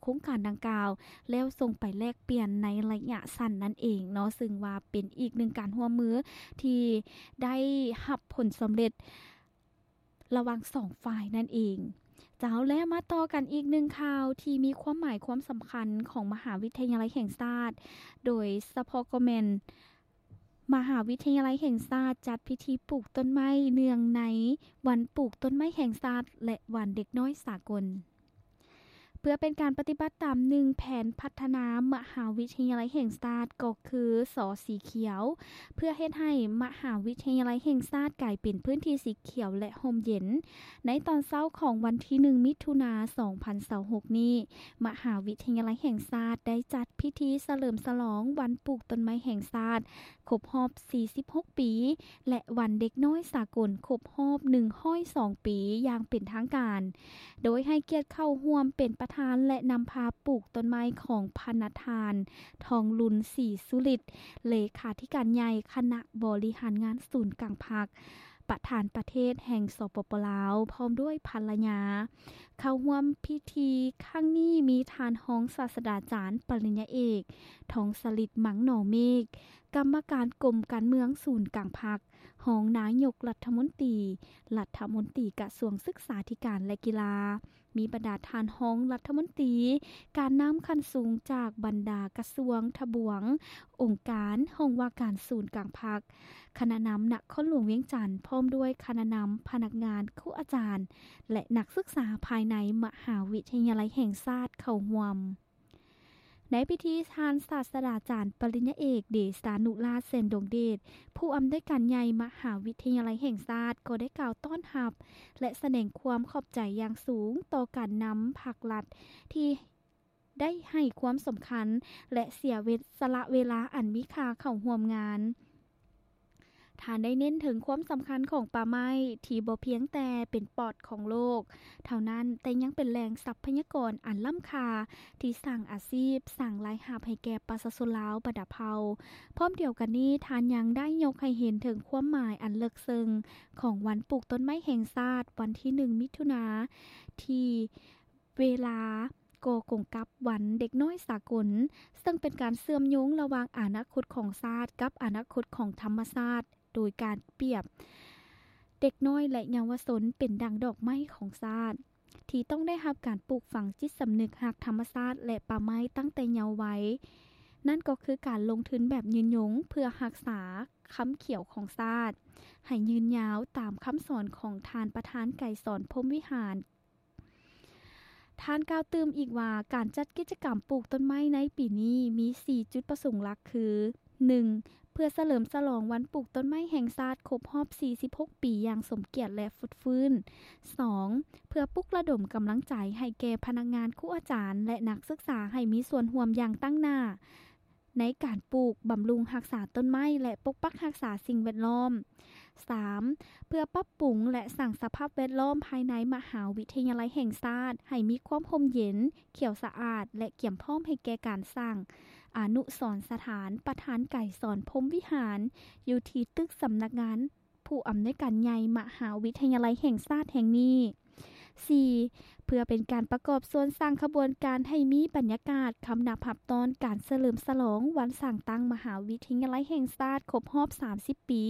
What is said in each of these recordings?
ໂຄງການດັ່ງກ່າວ ແລ້ວສົ່ງໄປແລກປ່ຽນໃນໄລຍະສັ້ນນັ້ນເອງເນາະ, ເຊິ່ງວ່າເປັນອີກໜຶ່ງການຮ່ວມມືທີ່ໄດ້ຮັບຜົນສຳເລັດລະຫວ່າງສອງຝ່າຍນັ້ນເອງ. ເຈົ້າ, ແລ້ວມາຕໍ່ກັນອີກໜຶ່ງຂ່າວທີ່ມີຄວາມໝາຍຄວາມສຳຄັນຂອງມະຫາວິທະຍາໄລແຫ່ງຊາດ, ໂດຍສະເພາະກໍແມ່ນ ມະຫາວິທະຍາໄລແຫ່ງຊາດຈັດພິທີປູກຕົ້ນໄມ້ເນື່ອງໃນວັນປູກຕົ້ນໄມ້ແຫ່ງຊາດ ແລະ ວັນເດັກນ້ອຍສາກົນ. ເພື່ອເປັນການປະຕິບັດຕາມໜຶ່ງແຜນພັດທະນາມະຫາວິທະຍາໄລແຫ່ງຊາດ ກໍຄື ສ ສີຂຽວ, ເພື່ອເຮັດໃຫ້ມະຫາວິທະຍາໄລແຫ່ງຊາດກາຍເປັນພື້ນທີ່ສີຂຽວ ແລະ ຮົ່ມເຢັນ. ໃນຕອນເຊົ້າຂອງວັນທີໜຶ່ງ ມິຖຸນາ ສອງພັນຊາວຫົກນີ້, ມະຫາວິທະຍາໄລແຫ່ງຊາດໄດ້ຈັດພິທີສະເຫຼີມສະຫຼອງວັນປູກຕົ້ນໄມ້ແຫ່ງຊາດຄົບຮອບສີ່ສິບຫົກປີ ແລະ ວັນເດັກນ້ອຍສາກົນຄົບຮອບໜຶ່ງຮ້ອຍສອງປີຢ່າງເປັນທາງການ, ໂດຍໃຫ້ກຽດເຂົ້າຮ່ວມເປັນປະທານ ແລະ ນຳພາປູກຕົ້ນໄມ້ຂອງພະນະທ່ານ ທອງລຸນ ສີສຸລິດ, ເລຂາທິການໃຫຍ່ຄະນະບໍລິຫານງານສູນກາງພັກ ປະທານປະເທດແຫ່ງ ສປປ ລາວ ພ້ອມດ້ວຍພັນລະຍາ. ເຂົ້າຮ່ວມພິທີຄັ້ງນີ້ມີທ່ານຮອງສາດສະດາຈານປະລິນຍາເອກ ທອງສະລິດ ມັງໜໍເມກ, ກຳມະການກົມການເມືອງສູນກາງພັກ, ຮອງນາຍົກລັດຖະມົນຕີ, ລັດຖະມົນຕີກະຊວງສຶກສາທິການ ແລະ ກິລາ, ມີບັນດາທ່ານຮອງລັດຖະມົນຕີ, ການນຳຂັ້ນສູງຈາກບັນດາກະຊວງ, ທະບວງ, ອົງການ, ຫ້ອງວ່າການສູນກາງພັກ, ຄະນະນຳນະຄອນຫຼວງວຽງຈັນ ພ້ອມດ້ວຍຄະນະນຳພະນັກງານ, ຄູອາຈານ ແລະ ນັກສຶກສາພາຍໃນມະຫາວິທະຍາໄລແຫ່ງຊາດເຂົ້າຮ່ວມ. ໃນພິທີ, ທ່ານສາດສະດາຈານປະລິນຍາເອກ ເດຊານຸລາດ ແສນດວງເດດ, ຜູ້ອຳນວຍການໃຫຍ່ມະຫາວິທະຍາໄລແຫ່ງຊາດ ກໍໄດ້ກ່າວຕ້ອນຮັບ ແລະ ສະແດງຄວາມຂອບໃຈຢ່າງສູງຕໍ່ການນຳພັກລັດທີ່ ໄດ້ໃຫ້ຄວາມສຳຄັນ ແລະ ເສຍເວ ສະຫຼະເວລາອັນມີຄ່າເຂົ້າຮ່ວມງານ. ທ່ານໄດ້ເນັ້ນເຖິງຄວາມສຳຄັນຂອງປ່າໄມ້ທີ່ບໍ່ພຽງແຕ່ເປັນປອດຂອງໂລກເທົ່ານັ້ນ, ແຕ່ຍັງເປັນແຫຼ່ງຊັບພະຍາກອນອັນລ້ຳຄ່າທີ່ສ້າງອາຊີບ, ສ້າງລາຍຮັບໃຫ້ແກ່ປະຊາຊົນລາວບັນດາເຜົ່າ. ພ້ອມດຽວກັນນີ້, ທ່ານຍັງໄດ້ຍົກໃຫ້ເຫັນເຖິງຄວາມໝາຍອັນເລິກເຊິ່ງຂອງວັນປູກຕົ້ນໄມ້ແຫ່ງຊາດ ວັນທີໜຶ່ງ ມິຖຸນາ ທີ່ ເວລາກໍກົງກັບວັນເດັກນ້ອຍສາກົນ, ເຊິ່ງເປັນການເຊື່ອມໂຍງລະຫວ່າງອະນາຄົດຂອງຊາດກັບອະນາຄົດຂອງທຳມະຊາດ, ໂດຍການປຽບເດັກນ້ອຍ ແລະ ເຍົາວະຊົນເປັນດັ່ງດອກໄມ້ຂອງຊາດ ທີ່ຕ້ອງໄດ້ຮັບການປູກຝັງຈິດສຳນຶກຮັກທຳມະຊາດ ແລະ ປ່າໄມ້ຕັ້ງແຕ່ເຍົາໄວ. ນັ້ນກໍຄືການລົງທຶນແບບຍືນຍົງເພື່ອຮັກສາຄຳຂຽວຂອງຊາດໃຫ້ຍືນຍາວ, ຕາມຄຳສອນຂອງທ່ານປະທານໄກສອນ ພົມວິຫານ. ທ່ານກ່າວຕື່ມອີກວ່າ ການຈັດກິດຈະກຳປູກຕົ້ນໄມ້ໃນປີນີ້ມີສີ່ຈຸດປະສົງຫຼັກຄື, ໜຶ່ງ ເພື່ອສະເຫຼີມສະຫຼອງວັນປູກຕົ້ນໄມ້ແຫ່ງຊາດຄົບຮອບສີ່ສິບຫົກປີຢ່າງສົມກຽດ ແລະ ຟົດຟື້ນ. ສອງ ເພື່ອປຸກລະດົມກຳລັງໃຈໃຫ້ແກ່ພະນັກງານ, ຄູອາຈານ ແລະ ນັກສຶກສາໃຫ້ມີສ່ວນຮ່ວມຢ່າງຕັ້ງໜ້າ ໃນການປູກ, ບຳລຸງ, ຮັກສາຕົ້ນໄມ້ ແລະ ປົກປັກຮັກສາສິ່ງແວດລ້ອມ. ສາມ ເພື່ອປັບປຸງ ແລະ ສ້າງສະພາບແວດລ້ອມພາຍໃນມະຫາວິທະຍາໄລແຫ່ງຊາດໃຫ້ມີຄວາມຮົ່ມເຢັນ, ຂຽວສະອາດ ແລະ ກຽມພ້ອມໃຫ້ແກ່ການສ້າງອະນຸສອນສະຖານປະທານໄກສອນ ພົມວິຫານ ຢູ່ທີ່ຕຶກສຳນັກງານ ຜູ້ອຳນວຍການໃຫຍ່ມະຫາວິທະຍາໄລແຫ່ງຊາດແຫ່ງນີ້. ສີ່ ເພື່ອເປັນການປະກອບສ່ວນສ້າງຂະບວນການໃຫ້ມີບັນຍາກາດຄຳນັບຮັບຕ້ອນການສະເຫຼີມສະຫຼອງວັນສ້າງຕັ້ງມະຫາວິທະຍາໄລແຫ່ງຊາດຄົບຮອບສາມສິບປີ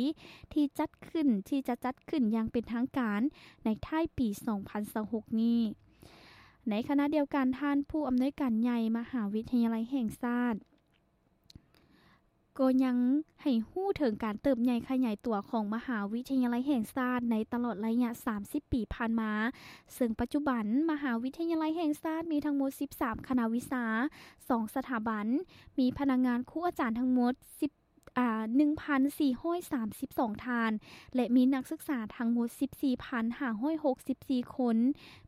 ທີ່ຈັດຂຶ້ນ, ທີ່ຈະຈັດຂຶ້ນຢ່າງເປັນທາງການໃນທ້າຍປີສອງພັນຊາວຫົກນີ້. ໃນຂະນະດຽວກັນ, ທ່ານຜູ້ອຳນວຍການໃຫຍ່ມະຫາວິທະຍາໄລແຫ່ງຊາດ ກໍຍັງໃຫ້ຮູ້ເຖິງການເຕີບໃຫຍ່ຂະຫຍາຍຕົວຂອງມະຫາວິທະຍາໄລແຫ່ງຊາດໃນຕະຫຼອດໄລຍະສາມສິບປີຜ່ານມາ, ເຊິ່ງປັດຈຸບັນມະຫາວິທະຍາໄລແຫ່ງຊາດມີທັງໝົດສິບສາມຄະນະວິຊາ, ສອງສະຖາບັນ, ມີພະນັກງານຄູອາຈານທັງໝົດສິບ ອ່າ ໜຶ່ງພັນສີ່ຮ້ອຍສາມສິບສອງທ່ານ ແລະ ມີນັກສຶກສາທັງໝົດສິບສີ່ພັນຫ້າຮ້ອຍຫົກສິບສີ່ຄົນ,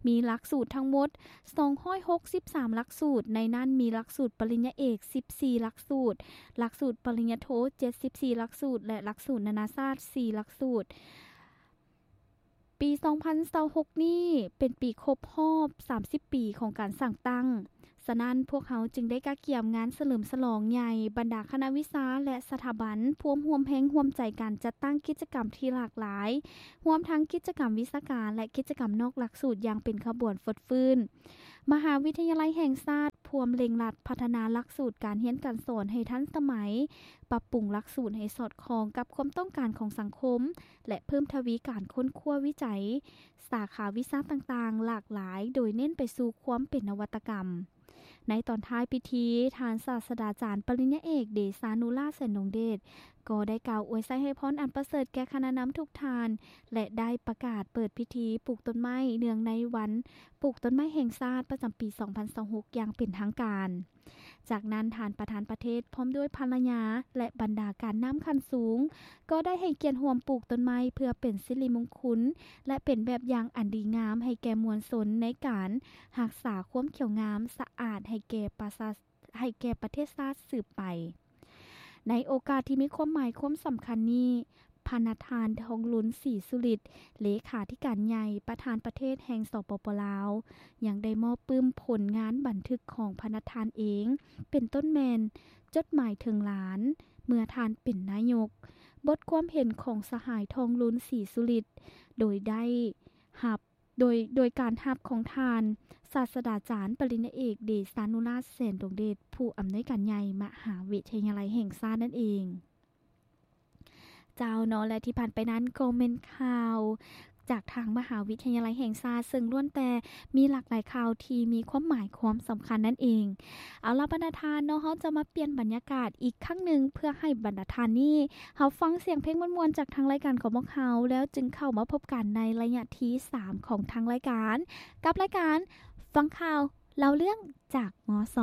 ມີຫຼັກສູດທັງໝົດສອງຮ້ອຍຫົກສິບສາມຫຼັກສູດ, ໃນນັ້ນມີຫຼັກສູດປະລິນຍາເອກສິບສີ່ຫຼັກສູດ, ຫຼັກສູດປະລິນຍາໂທເຈັດສິບສີ່ຫຼັກສູດ ແລະ ຫຼັກສູດນານາຊາດສີ່ຫຼັກສູດ. ປີສອງພັນຊາວຫົກນີ້ເປັນປີຄົບຮອບສາມສິບປີຂອງການສ້າງຕັ້ງ ສະນັ້ນ, ພວກເຮົາຈຶ່ງໄດ້ກະກຽມງານສະເຫຼີມສະຫຼອງໃຫຍ່, ບັນດາຄະນະວິຊາ ແລະ ສະຖາບັນ ພວມຮ່ວມແຮງຮ່ວມໃຈກັນຈັດຕັ້ງກິດຈະກຳທີ່ຫຼາກຫຼາຍ, ຮວມທັງກິດຈະກຳວິຊາການ ແລະ ກິດຈະກຳນອກຫຼັກສູດຢ່າງເປັນຂະບວນຟົດຟື້ນ. ມະຫາວິທະຍາໄລແຫ່ງຊາດພວມເລັ່ງລັດພັດທະນາຫຼັກສູດການຮຽນການສອນໃຫ້ທັນສະໄໝ, ປັບປຸງຫຼັກສູດໃຫ້ສອດຄ່ອງກັບຄວາມຕ້ອງການຂອງສັງຄົມ ແລະ ເພີ່ມທະວີການຄົ້ນຄວ້າວິໄຈສາຂາວິຊາຕ່າງໆຫຼາກຫຼາຍ, ໂດຍເນັ້ນໄປສູ່ຄວາມເປັນນະວັດຕະກຳ. ໃນຕອນທ້າຍພິທີ, ທ່ານສາດສະດາຈານປະລິນຍາເອກ ເດຊານຸລາດ ແສນດົງເດດ ກໍໄດ້ກ່າວອວຍໄຊໃຫ້ພອນອັນປະເສີດແກ່ຄະນະນຳທຸກທ່ານ ແລະ ໄດ້ປະກາດເປີດພິທີປູກຕົ້ນໄມ້ເນື່ອງໃນວັນປູກຕົ້ນໄມ້ແຫ່ງຊາດປະຈຳປີສອງພັນຊາວຫົກຢ່າງເປັນທາງການ. ຈາກນັ້ນ, ທ່ານປະທານປະເທດ ພ້ອມດ້ວຍພັນລະຍາ ແລະ ບັນດາການນຳຂັ້ນສູງ ກໍໄດ້ໃຫ້ກຽດຮ່ວມປູກຕົ້ນໄມ້ເພື່ອເປັນສິລິມຸງຄຸນ ແລະ ເປັນແບບຢ່າງອັນດີງາມໃຫ້ແກ່ມວນຊົນໃນການຮັກສາຄວາມຂຽວງາມສະອາດໃຫ້ແກ່ປະຊາ ໃຫ້ແກ່ປະເທດຊາດສືບໄປ. ໃນໂອກາດທີ່ມີຄວາມໝາຍຄວາມສຳຄັນນີ້, ພະນະທ່ານ ທອງລຸນ ສີສຸລິດ ເລຂາທິການໃຫຍ່ ປະທານປະເທດແຫ່ງ ສປປ ລາວ ຍັງໄດ້ມອບປຶ້ມຜົນງານບັນທຶກຂອງພະນະທ່ານເອງ ເປັນຕົ້ນແມ່ນ ຈົດໝາຍເຖິງຫຼານ ເມື່ອທ່ານເປັນນາຍົກ, ບົດຄວາມເຫັນຂອງສະຫາຍ ທອງລຸນ ສີສຸລິດ ໂດຍໄດ້ຮັບ ໂດຍ ໂດຍການຮັບຂອງທ່ານສາດສະດາຈານປະລິນຍາເອກ ເດຊານຸລາດ ແສນດົງເດດ ຜູ້ອຳນວຍການໃຫຍ່ມະຫາວິທະຍາໄລແຫ່ງຊາດນັ້ນເອງ. ເຈົ້າເນາະ ແລະ ທີ່ຜ່ານໄປນັ້ນກໍແມ່ນຂ່າວຈາກທາງມະຫາວິທະຍາໄລແຫ່ງຊາດ, ເຊິ່ງລ້ວນແຕ່ມີຫຼາກຫຼາຍຂ່າວທີ່ມີຄວາມໝາຍຄວາມສຳຄັນນັ້ນເອງ. ເອົາລະ ບັນດາທ່ານເນາະ, ເຮົາຈະມາປ່ຽນບັນຍາກາດອີກຄັ້ງໜຶ່ງ ເພື່ອໃຫ້ບັນດາທ່ານນີ້ຮັບຟັງສຽງເພງມ່ວນໆຈາກທາງລາຍການຂອງພວກເຮົາ, ແລ້ວຈຶ່ງເຂົ້າມາພົບກັນໃນໄລຍະທີສາມຂອງທາງລາຍການ ກັບລາຍການຟັງຂ່າວເລົ່າເລື່ອງຈາກ ມສ.